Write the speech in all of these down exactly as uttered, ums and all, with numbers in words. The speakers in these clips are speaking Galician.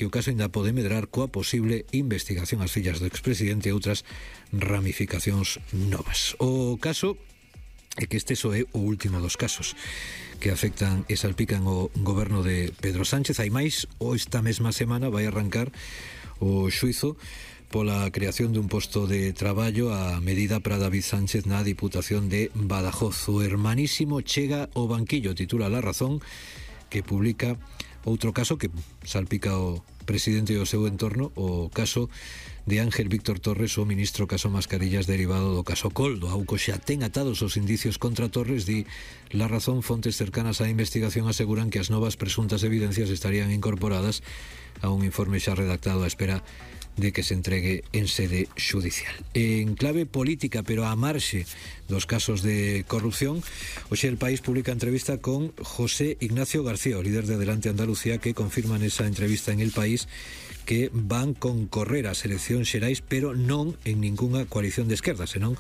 que o caso ainda pode medrar coa posible investigación ás fillas do expresidente e outras ramificacións novas. O caso é que este só é o último dos casos que afectan e salpican o goberno de Pedro Sánchez. Hai máis, ou esta mesma semana vai arrancar o xuizo pola creación dun posto de traballo a medida para David Sánchez na Diputación de Badajoz. O hermanísimo chega ao banquillo, titula La Razón, que publica outro caso que salpica o presidente e o seu entorno, o caso de Ángel Víctor Torres, o ministro Caso Mascarillas derivado do caso Coldo. Auco xa ten atados os indicios contra Torres, di La Razón. Fontes cercanas á investigación aseguran que as novas presuntas evidencias estarían incorporadas a un informe xa redactado á espera de que se entregue en sede xudicial. En clave política, pero a marxe dos casos de corrupción, hoxe El País publica entrevista con José Ignacio García, o líder de Adelante Andalucía, que confirma nesa entrevista en El País que van concorrer ás eleccións xerais, pero non en ningunha coalición de esquerda, senón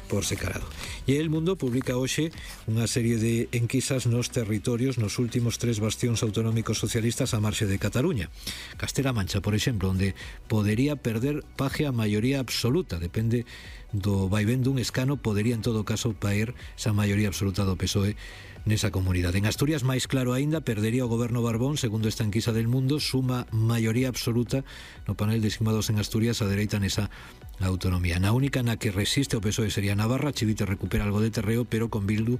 por separado. E El Mundo publica hoxe unha serie de enquisas nos territorios nos últimos tres bastións autonómicos socialistas a marxe de Cataluña. Castela-Mancha, por exemplo, onde podería perder Paje a maioría absoluta, depende do vaivén dun escano, podería en todo caso paer esa maioría absoluta do P S O E nesa comunidade. En Asturias, máis claro aínda, perdería o goberno Barbón, segundo esta enquisa del Mundo, suma maioría absoluta no panel de estimados en Asturias, a dereita nesa autonomía. Na única na que resiste o P S O E sería Navarra. Chivite recupera algo de terreo, pero con Bildu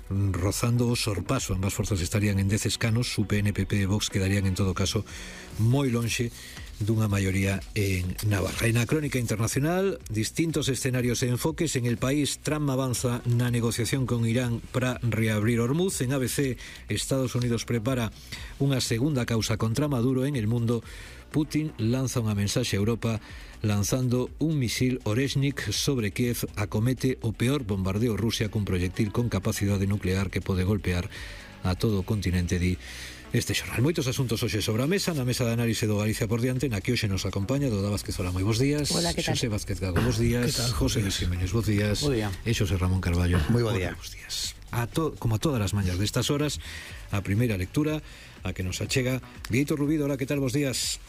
rozando o sorpaso. Ambas forzas estarían en dez escanos. Su P N, P P e Vox quedarían en todo caso moi lonxe dunha maioría en Navarra. En a crónica internacional, distintos escenarios e enfoques. En El País, Trump avanza na negociación con Irán para reabrir Hormuz. En A B C, Estados Unidos prepara unha segunda causa contra Maduro. En El Mundo, Putin lanza unha mensaxe a Europa lanzando un misil Oreshnik sobre Kiev. Acomete o peor bombardeo Rusia cun proyectil con capacidade nuclear que pode golpear a todo o continente, di este xornal. Moitos asuntos hoxe sobre a mesa, na mesa de análise do Galicia por diante, na que hoxe nos acompaña Doda Vázquez. Hola, moi bons días. Hola, que tal? Xosé Vázquez Gago, bons días. José Luis Jiménez, bons días. Bo día. E Xosé Ramón Carballo. Moi bo día. Bons días. A to, como a todas as mañas destas horas, a primeira lectura a que nos achega Vieito Rubido. Hola, que tal? Bons días.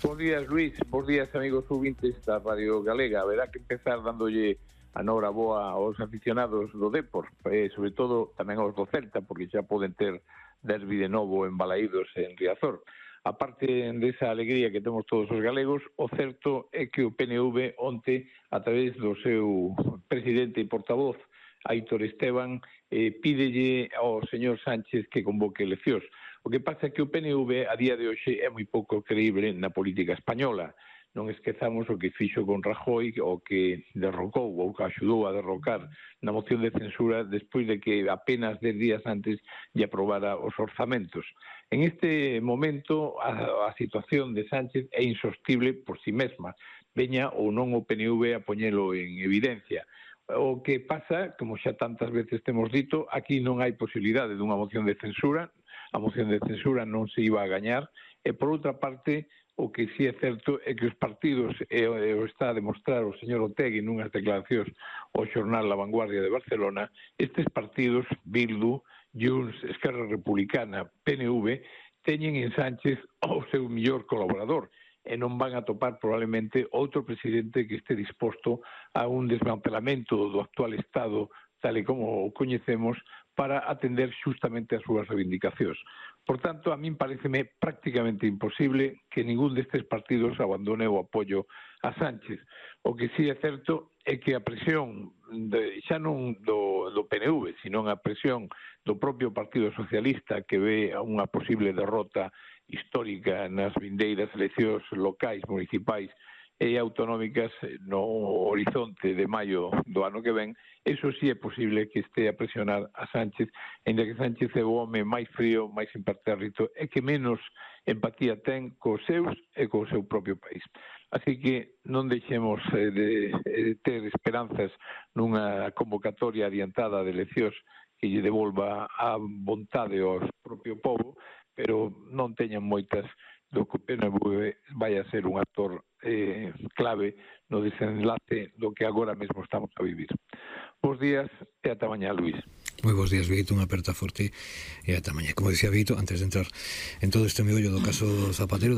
Bos días, Luis. Bos días, amigos ouvintes da Radio Galega. Haberá que empezar dándolle a nora boa aos aficionados do Depor, eh, sobre todo tamén aos do Celta, porque xa poden ter derbi de novo en Balaídos en Riazor. A parte desa alegría que temos todos os galegos, o certo é que o P N V onte, a través do seu presidente e portavoz, Aitor Esteban, eh, pídelle ao señor Sánchez que convoque eleccións. O que pasa é que o P N V a día de hoxe é moi pouco creíble na política española. Non esquezamos o que fixo con Rajoy, o que derrocou ou que axudou a derrocar na moción de censura despois de que apenas dez días antes lle aprobara os orzamentos. En este momento a, a situación de Sánchez é insostible por si mesma, veña ou non o P N V a poñelo en evidencia. O que pasa, como xa tantas veces temos dito, aquí non hai posibilidade dunha moción de censura, a moción de censura non se iba a gañar, e por outra parte, o que sí é certo é que os partidos, e o está a demostrar o señor Otegi nunhas declaracións ao xornal La Vanguardia de Barcelona, estes partidos, Bildu, Junts, Esquerra Republicana, P N V, teñen en Sánchez o seu millor colaborador, e non van a topar probablemente outro presidente que este disposto a un desmantelamento do actual Estado tal e como o coñecemos para atender xustamente as súas reivindicacións. Por tanto, a min pareceme prácticamente imposible que ningún destes partidos abandone o apoio a Sánchez. O que sí é certo é que a presión de, xa non do, do P N V, sino a presión do propio Partido Socialista, que ve unha posible derrota histórica nas vindeiras eleccións locais, municipais e autonómicas no horizonte de maio do ano que ven, eso sí é posible que este a presionar a Sánchez, ainda que Sánchez é o home máis frío, máis impertérrito e que menos empatía ten cos seus e co seu propio país. Así que non deixemos eh, de, de ter esperanzas nunha convocatoria adiantada de eleccións que lle devolva a vontade ao propio povo, pero non teñan moitas do que o P N V vai a ser un actor eh, clave no desenlace do que agora mesmo estamos a vivir. Bos días e ata mañá, Luis. Moi bons días, Vito, unha aperta forte e ata mañá. Como dicía Vito, antes de entrar en todo este meollo do caso Zapatero,